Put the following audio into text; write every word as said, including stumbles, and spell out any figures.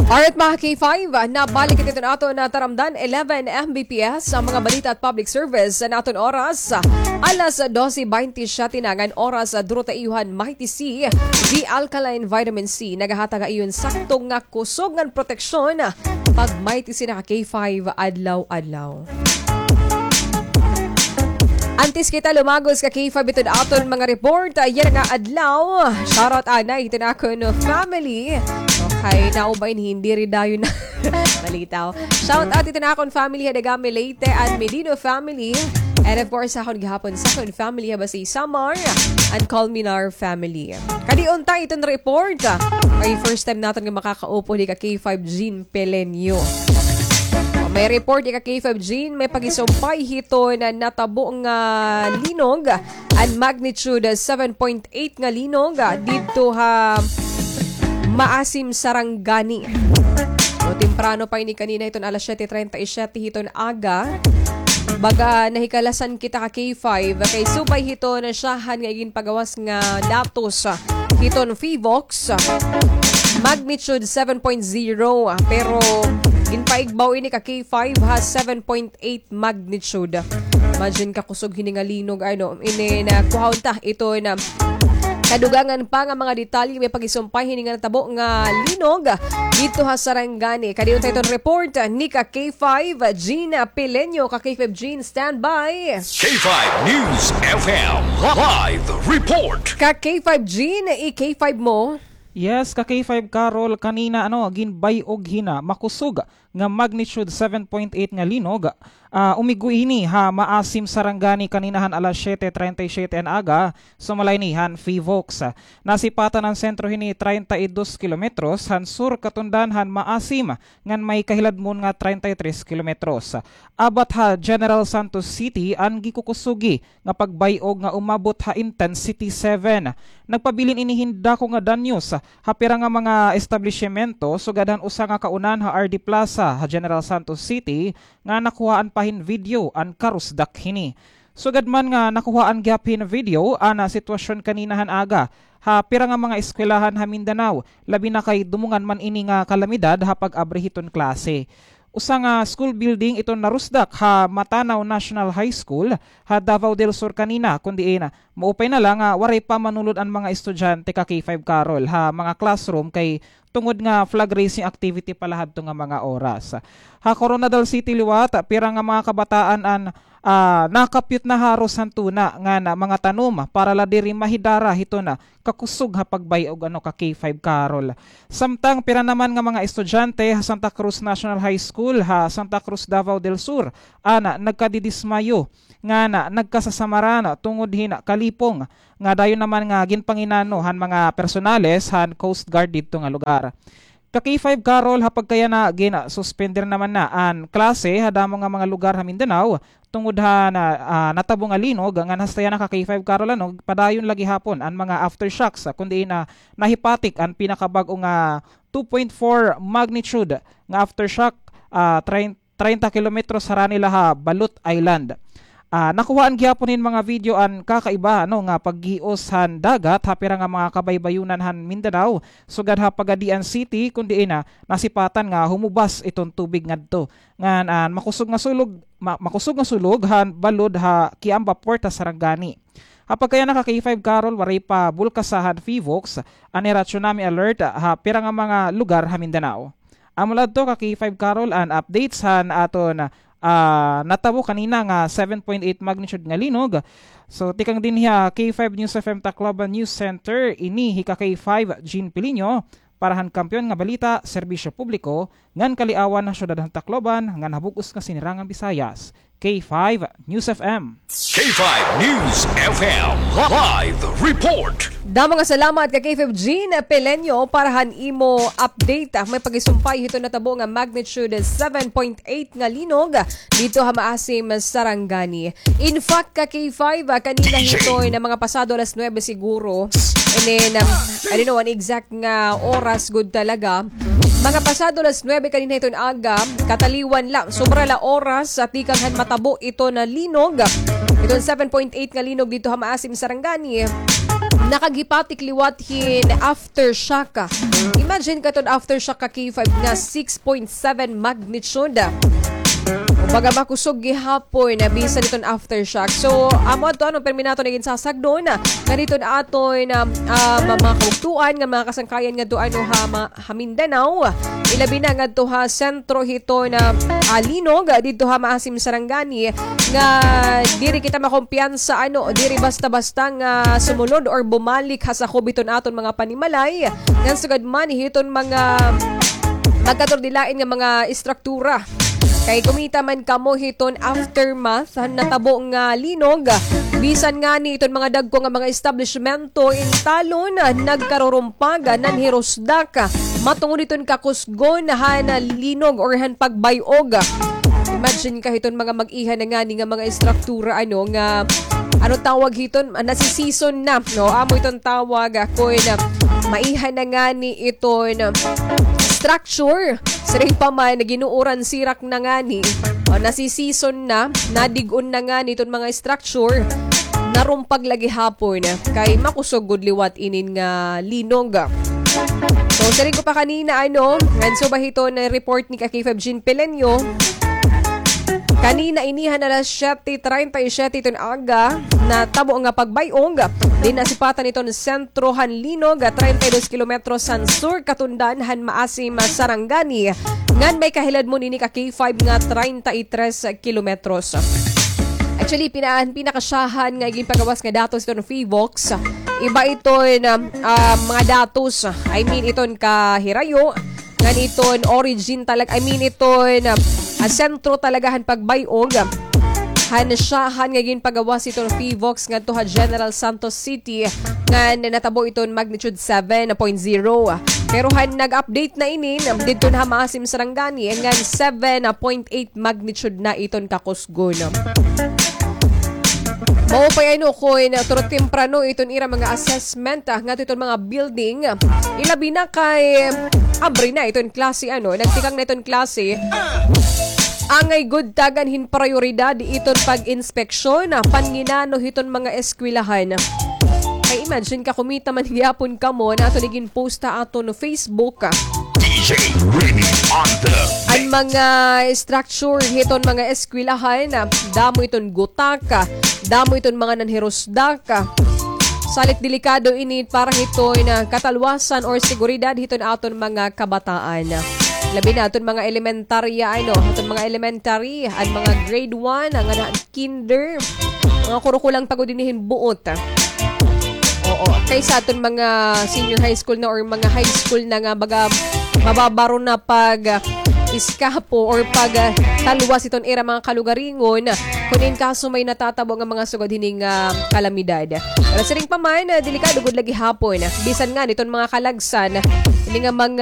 Alright, mga K five, nabalik kita iton aton nga taramdan, eleven M B P S, an mga balita at public service sa aton oras. Alas dose baynte siyete na ngan oras, duro ta iyo han Mighty C, the alkaline vitamin C, nagahatag ha iyo hin sakto nga kusog ngan proteksyon pag Mighty C na ka K five adlaw-adlaw. Antes kita lumagos ka K five iton aton mga report, ah, yana nga adlaw. Shoutout anay hiton akon family. Okay, naubay ni, hindi rin dayon na balitaw. Shoutout hiton akon family ha Dagami, Leyte, and Medino family. And of course, akon gihapon sa akon family ha Basi, Samar, and Colmenar family. Kadi unta iton report, ah, kay first time naton nga makakaupod hi ka K five Jean Pelenyo. May report hi ka K five Jean, may pagisumpay hiton natabo nga linog, an magnitude seven point eight nga linog, ah, didto ha Maasim, Sarangani. So, temprano pa ini kanina hiton alas siyete treinta y siete hiton aga. Baga nahikalasan kita ka K five, kay subay hiton syahan nga iginpagawas nga datos, ah, hiton PHIVOLCS, magnitude seven point zero, ah, pero ginpaigbaw ini ka K five ha seven point eight magnitude. Imagine ka kusog hini nga linog, ano, ini na kuhaon ta iton kadugangan pa nga mga detalye may pagisumpay hini nga natabo nga linog didto ha Sarangani. Kadi unta iton report ni ka K five Jean Pelenyo. Ka K five Jean, standby. K five News F M live report. Ka K five Jean, i-K five mo. Yes, ka K five Carol, kanina, ano, ginbay-og hini makusog nga magnitude seven point eight nga linog, ah, umigo hini ha Maasim, Sarangani kanina han alas siyete treinta y siete han aga, sumala hini han PHIVOLCS. Nasipatan an sentro hini treinta y dos kilometros han sur katundan han Maasim, ngan may kahiladmon nga treinta y tres kilometros. Abat ha General Santos City an gikukusogi nga pagbay-og nga umabot ha intensity seven. Nagpabilin ini hin dako nga danyos ha pira nga mga establisimento sugad han usa nga kaunan ha R D Plaza ha General Santos City nga nakuhaan pa hin video an karusdak hini. Sugad man nga nakuhaan gihap hin video an, ah, sitwasyon kanina han aga ha pira nga mga eskwelahan ha Mindanao, labi na kay dumungan man ini nga kalamidad ha pag-abri hiton klase. Usa nga school building iton narusdak ha Matanao National High School ha Davao del Sur kanina, kun diin maupay na la nga waray pa manulod an mga estudyante ka K five Carol ha mga classroom kay tungod nga flag raising activity pa la hadto nga mga oras. Ha Koronadal City liwat, pira nga mga kabataan an, ah, nakapyot na haros han tuna ngan mga tanom para la diri mahidara hiton kakusog ha pagbay-og ano ka K five Carol. Samtang pira naman nga mga estudyante ha Santa Cruz National High School ha Santa Cruz, Davao del Sur an nagkadidismayo ngan nagkasasamaran tungod hin kalipong nga dayon naman nga ginpanginano han mga personales han Coast Guard didto nga lugar. Ka K five Carol, ha pagkayana, ginsuspender naman na an klase ha damo nga mga lugar ha Mindanao tungod ha na, ah, natabo nga linog, ngan hasta yana ka K five Carol, ano, padayon la gihapon an mga aftershocks, ah, kun diin nahipatik an pinakabag-o nga two point four magnitude nga aftershock, ah, train treinta kilometros harani la ha Balot Island. Ah, nakuhaan gihapon hin mga video an kakaiba, ano, nga paggios han dagat ha pira nga mga kabaybayonan han Mindanao, sugad ha Pagadian City, kun diin nasipatan nga humubas iton tubig ngadto ngan an makusog nga sulog, ma-, makusog nga sulog han balod ha Kiamba Port ha Sarangani. Ha pagkayana ka K five Carol, waray pa bulkasa han PHIVOLCS an ira tsunami alert ha pira nga mga lugar ha Mindanao. Amo la adto ka K five Carol an updates han aton, ah, natabo kanina nga seven point eight magnitude nga linog. So, tikang dinhi ha K five News F M Tacloban News Center, ini hi ka K five Jean Pilinho para han Kampiyon nga Balita, Serbisyo Publiko, ngan Kaliawan ha Syudad han Tacloban, ngan ha bug-os nga Sinirangan Visayas. K five News F M. K five News F M live report. Damo nga salamat ka K five Jean Pelenyo para han imo update. Ah, may pagisumpay hiton natabo nga magnitude seven point eight nga linog didto ha Maasim, Sarangani. In fact, ka K five, ah, kanina hiton mga pasado alas nuebe siguro. And then, um, I don't know an exact nga oras gud talaga. Mga pasado alas nuebe kanina hiton aga, kataliwan la, sobra la oras, ah, tikang han matabo iton linog. Iton seven point eight nga linog didto ha Maasim, Sarangani. Nakaghipatik liwat hin aftershock. Imagine ka iton aftershock ka K five nga six point seven magnitude. O baga makusog gihapon, ah, bisan iton aftershock. So, amo adto ano, pirmi naton nga ginsasagdon, ah, nga didto ha aton, ah, ah, ma-, mga kabugtoan, nga mga kasangkayan ngadto ano ha, ma-, ha Mindanao. Ilabi na ngadto ha sentro hiton, ah, Linog, ah, didto ha Maasim, Sarangani, nga diri kita makumpiyansa, ano, diri basta-basta nga sumunod or bumalik ha sakob hiton aton mga panimalay, ngan sugad man hiton mga magkaturdilain nga mga istruktura. Kay kumita man kamo hiton aftermath han natabo nga linog, bisan ngani iton mga dagko nga mga establishmento in talon, nagkarurumpag, nanhirusdak, matungod hiton kakusgon han linog or han pagbay-og. Imagine ka hiton mga mag-iha na ngani nga mga istruktura, ano, nga, ano tawag hiton? Ah, nasisison na, no? Amo iton tawag, ah, kun, ah, maiha na ngani iton, ah, structure. Siring pa man, ginuuran sirak na ngani. O, nasisison na, nadig-on na ngani iton mga structure. Narumpag la gihapon. Kay makusog gud liwat inin nga linog. So, siring ko pa kanina, ano, ngan subay hiton report ni ka K five Jean Pelenyo. Kanina ini han alas siyete treinta y siete iton aga, natabo nga pagbay-og dinhi ha sipatan hiton sentro han linog, treinta y dos kilometros han sur katundan han Maasim, Sarangani, ngan may kahiladmon ini ka K five nga treinta y tres kilometros. Actually, pina-, pinakasyahan nga ginpagawas nga datos iton PHIVOLCS. Iba iton, um, um, mga datos, I mean, iton kahirayo, ngan iton origin talag-, I mean, iton, um, ah, sentro talaga han pagbay-og. Han syahan nga ginpagawas iton PHIVOLCS ngadto ha General Santos City, ngan natabo iton magnitude seven point zero. Pero han nag-update na inin, didto na ha Maasim, Sarangani, ngan seven point eight magnitude na iton kakusgon. Maupay, ano, kun turo temprano iton ira mga assessment, ah, ngadto iton mga building. Ilabi na kay abri na iton klase, ano, nagtikang na iton klase. Angay gud tagan hin prayoridad iton pag-inspeksyon, ah, panginano hiton mga eskwelahan. Kay imagine ka, kumita man gihapon kamo, nato ni ginpost ha aton Facebook, ah. D J Remy on the An mga structure hiton mga eskwelahan, ah, damo iton gutak, ah, damo iton mga nanhirusdak, ah. Salit delikado ini para hiton, ah, katalwasan or seguridad hiton aton mga kabataan. Labi na aton mga elementarya, ano, aton mga elementary, an mga grade one, an, an kinder, mga kurukulang pa gud ini hin buot. Oo, kaysa aton mga senior high school na or mga high school na nga baga mababaro na pag, ah, iskapo or pag, ah, talwas iton ira mga kalugaringon, kun in kaso may natatabo nga mga sugad hini nga, ah, kalamidad. Pero siring pa man, ah, delikado gud la gihapon. Bisan ngani iton mga kalagsan, ini nga mga